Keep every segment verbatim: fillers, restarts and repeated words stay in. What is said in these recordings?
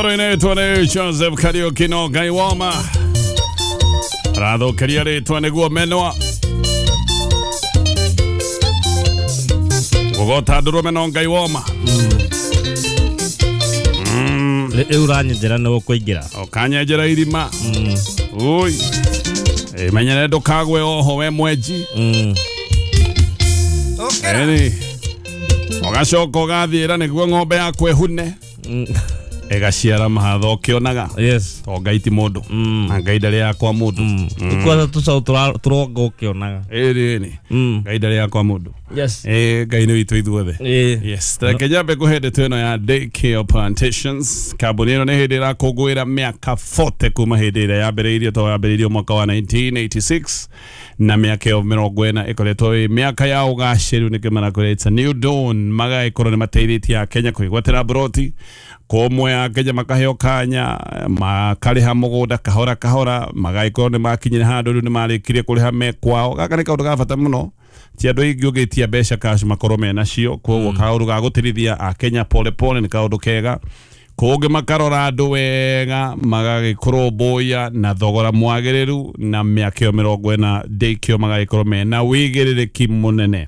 Rwĩmbo rũinĩtwo nĩ Joseph Kariuki no Ngai woma rathũkĩria rĩtwa nĩguo menwa gũgota ndũrũme no Ngai woma. Rĩu ũranyenjera nĩ ũkũingĩra. Ũkanyenjera irima. Ui, menyere ndũkagwe oho we mwenji. Ĩni ũgacoka ũgathiĩra nĩguo ng'ombe yaku ĩhune ĩgaciara mahatha ũkĩonaga. Yes. To Ngai ti mũndũ na Ngai ndarĩ yakwa mũndũ. Kwanza tũcaũ tũronga ũkĩonaga. Ĩni ĩni Ngai ndarĩ yakwa mũndũ. Yes. Eh, Ngai nĩ witũ ithuothe. Yes. Reke nyambe kũhe ndeto ĩno ya Daycare Plantations. Kambuni ĩno nĩ hĩndĩ ĩrakũngũĩra mĩaka forty kuma hĩndĩ ĩrĩa yambĩrĩirio, to yambĩrĩirio mwaka wa nineteen eighty-six na mĩaka ĩyo mĩrongo ĩna ĩkoretwo ĩ mĩaka ya ũgacĩru, nĩkĩo marakwĩra it's a new dawn. Magagĩkorwo nĩ mateithĩtie Akenya kwĩgwatĩra mburoti kũmwe, Akenya makaheo kanya makarĩha mũgũnda kahora kahora, magagĩkorwo nĩ makinyire handũ rĩu nĩ marĩkirie kũrĩha me kwao. Gaka nĩ kaũndũ ga bata mũno, ti andũ aingĩ ũngĩtia mbeca cash makorwo mena cio, koguo kaũndũ ga gũtirithia Akenya pole pole nĩ kaũndũ kega. Kũngĩ makarora andũ wega magagĩkũrũmbũiya na thogora mwagĩrĩru, na mĩaka ĩyo mĩrongo ĩna Daycare magagĩkorwo mena wĩigĩrĩrĩki mũnene.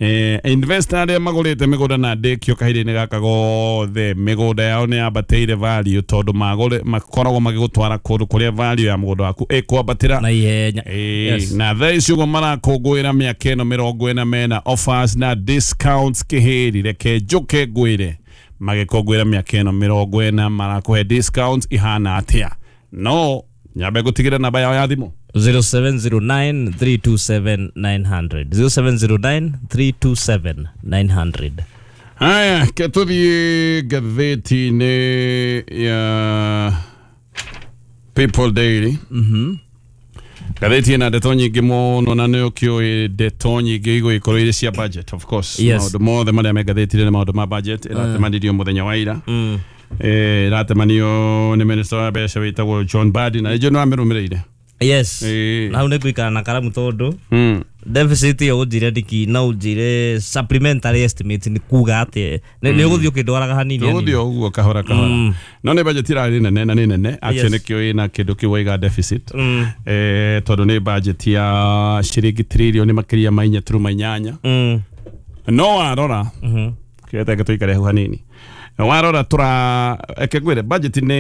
Eh, investor arĩa magũrĩte mĩgũnda na Daycare kahinda-inĩ gaka gothe mĩgũnda yao nĩ yambatĩire value, tondũ magũre makoragwo magĩgũtwara kũndũ kũrĩa value ya mũgũnda waku ĩkwambatĩra na ihenya. Yes. Na thaa ici ũguo marakũngũĩra mĩaka ĩno mĩrongo ĩna mena offers na discounts kĩhĩri. Reke njũke ngwĩre magĩkũngũĩra mĩaka ĩno mĩrongo ĩna marakũhe discounts ihana atĩa. No nyambe ngũtigĩre namba yao ya thimũ zero seven zero nine three two seven nine hundred zero seven zero nine three two seven nine hundred. Haya, ketũthiĩ ngathĩti-inĩ ya People Daily. Mhm. Ngathĩti ĩna ndeto nyingĩ mũno, na nĩ ũkĩũĩ ndeto nyingĩ igũgĩkorwo irĩ cia budget of course. Yes. Maũndũ mothe marĩa me ngathĩti-inĩ nĩ maũndũ ma budget. Ĩratemanĩrio mũthenya wa ira. Mm. Eh, ĩratemanio nĩ minister wa mbeca wĩtagwo John Mbadi, na nĩnjũĩ nĩwamĩrũmĩrĩire. Yes. Eh. Na hau nĩ ngũikara na karamu tondũ Mm. deficit ĩyo ũnjĩre ndiki na ũnjĩre supplementary estimate nĩ kuga atĩ nĩ ũgũthiĩ ũkĩndwaraga hanini Tũgũthiĩ hanini. o ũguo kahora kahora. Mm. No nĩ budget ĩrarĩ nene na nĩ nene actually, Yes. nĩkĩo ĩna kĩndũ kĩu waiga deficit. Mm. Eh, tondũ nĩ budget ya ciringi trilioni makĩria ma inya turuma inyanya. Mm. No warora Mhm. kĩrĩa tũikare hau hanini, warora tũra eke ngwĩre budget nĩ